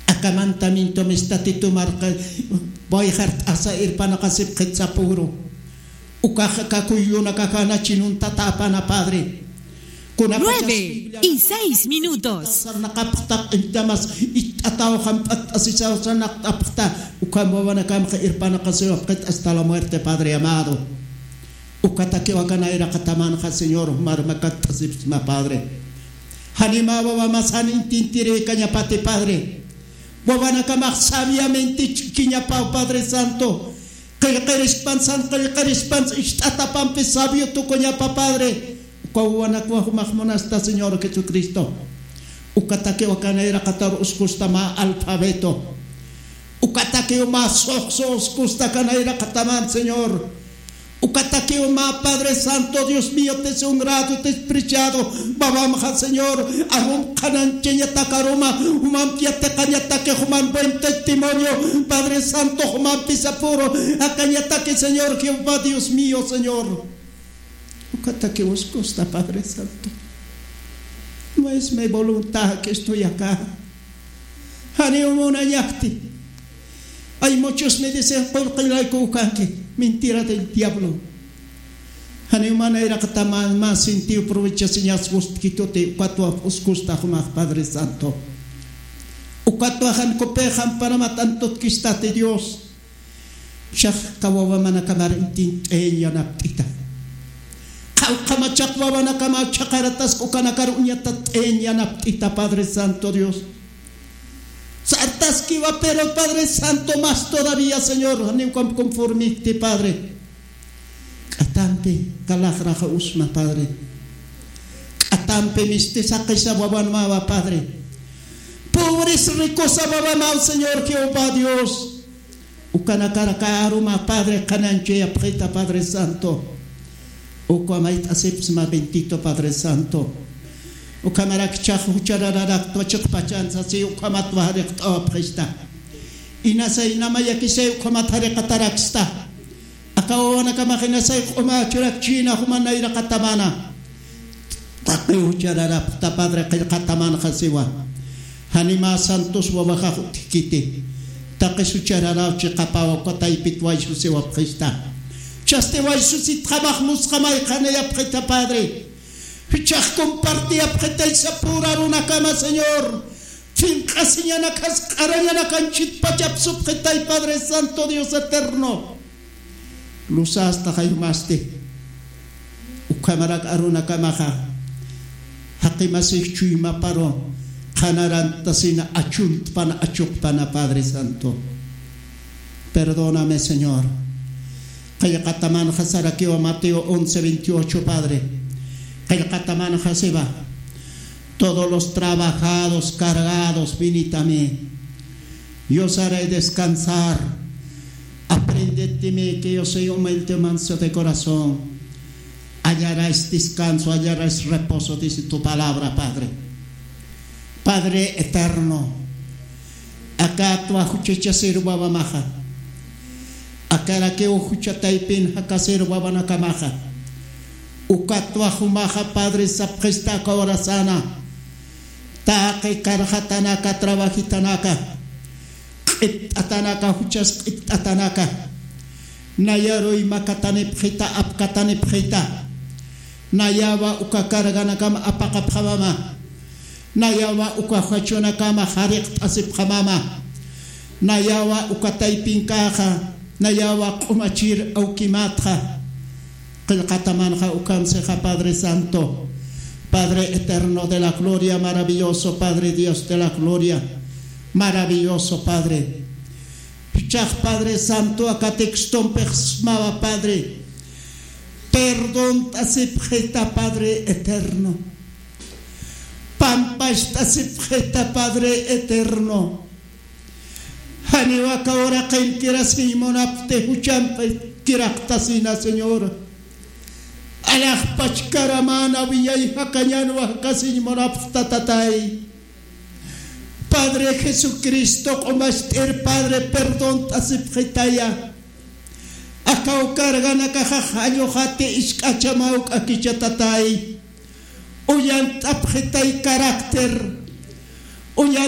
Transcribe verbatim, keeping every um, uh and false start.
Aka mandamiento mistatitu marqa wayjart'asa irpanaqasipxit sapüru. Ukaxa kakuyunakaxa nachinuntata apana, Padre. Kunapachas Nueve Biblia y seis minutos. Sarnaqapxta, q'intamas icht'ataw jamp'att'asisaw sarnaqt'apxta, ukham wawanakamxa irpanaqasiwapxit hasta la muerte, Padre amado. Ukatakiw aka nayraqatamanxa, Señor, marmakatt'asipxsma, Padre. Janima wawamas jan intintiri kañapati, Padre. Wawanakamax sabiamente ch'ikiñapaw, Padre Santo. Qillqirispan, san qillqirispan, ist'atapampi sabio tukuñapa, Padre. Uka wawanakwa jumax munasta, Señor Jesucristo. Ukatakiw aka nayraqatar uskusta mä alfabeto. Ukatakiw mä suxsu uskusta aka nayraqataman, Señor. Ukatakiw mä, Padre Santo, Dios mío, te honrado, despreciado, wawamxa, Señor, arum qhanañchañatak aruma, jumampi yatiqañataki, juman buen testimonio, Padre Santo, jumampi sapüru akañataki, Señor Jehová, Dios mío, Señor. Ukatakiw uskusta, Padre Santo. No es mi voluntad que estoy acá. Janiw munañapti. Hay muchos me dicen, "Qullqillayku ukanki." Mentira del diablo. Janiw mä nayraqataman mä sentido provechasiñas gustkituti, ukatwa uskusta jumax, Padre Santo. Ukatwa jan kupixam Panamá tantutkistati, Dios. Chax aka wawamanakamar intint'añ yanapt'ita. Qhawqhamachax wawanakama chhaqaratasku ukanakar uñatat'añ yanapt'ita, Padre Santo Dios. Sartaskiwa, pero Padre Santo, más todavía, Señor, janiw ukham conformipti, Padre. K'atampi kalaxraxa usma, Padre. K'atampi misti saqisa wawanmawa, Padre. Pobres ricosa wawamaw, Señor Jehová Dios. Ukanakar aka aruma, Padre, qhanañchayapxita, Padre Santo. Uka mayt'asipxsma, bendito Padre Santo. Ukhamarak jichhax jucharararakta chiqpachan sasi, ukhamat wajariqt'awapxista. Inasay namayakisay ukhamat jariqataraksta. Aka wawanakamax inasay q'uma churakchina juman nayraqatamana. Taqi juchararapxta, Padre, qillqatamanxa siwa. Janima santos wawaxax utjkiti. Taqi juchararaw chiqapawa, uka taypit waysusiwapxista. Chasti waysusitxamax musqamay qhanayapxita, Padre. Jichhax compartiyapxitay sapüru arunakama, Señor. Finq'asiñanakas q'arañanakanchit pachapsupxitay, Padre Santo, Dios eterno. Luzasta jaymasti. Ukhamarak arunakamaxa, jaqimasix chuymaparu qhanarantasina achuntpana, achuqpana, Padre Santo. Perdóname, Señor. Qillqatamanxa sarakiwa Mateo once veintiocho, Padre. Qillqatamanxa siwa: "Todos los trabajados, cargados, venid a mí. Yo os haré descansar. Aprended de mí, que yo soy humilde y manso de corazón. Hallaréis descanso, hallaréis reposo", dice tu palabra, Padre. Padre eterno, akatwa juchachasir wawamaxa, akarakiw jucha taypin jakasir wawanakamaxa, ukatwa jumaxa, Padre, sapxista aka urasana, taqi karxatanaka, trabajitanaka, q'itt'atanaka, juchas q'itt'atanaka, nayaruy makatanipxita, apkatanipxita, nayawa uka carganakama apaqapxamama, nayawa uka jachunakama jariqt'asipxamama, nayawa uka taypinkaxa, nayawa q'umachir awkimatxa. Qillqatamanxa ukham sixa, Padre Santo, Padre eterno de la gloria, maravilloso Padre, Dios de la gloria, maravilloso Padre. Jichhax, Padre Santo, aka textompix smawa, Padre. Perdont'asipxita, Padre eterno. Pampacht'asipxita, Padre eterno. Janiw aka uraqin kirasiñ munapxti, juchampi kiraqtasina, Señor. Alaxpach karamana wiyay jakañanwa jakasiñ munapxta, Tatay. Padre Jesucristo, q'umacht'ir, Padre, perdont'asipxitaya. Akaw carganakaxa jalluxati, isk'achamaw k'akicha, Tatay. Uñant'apxitay carácter. Uñan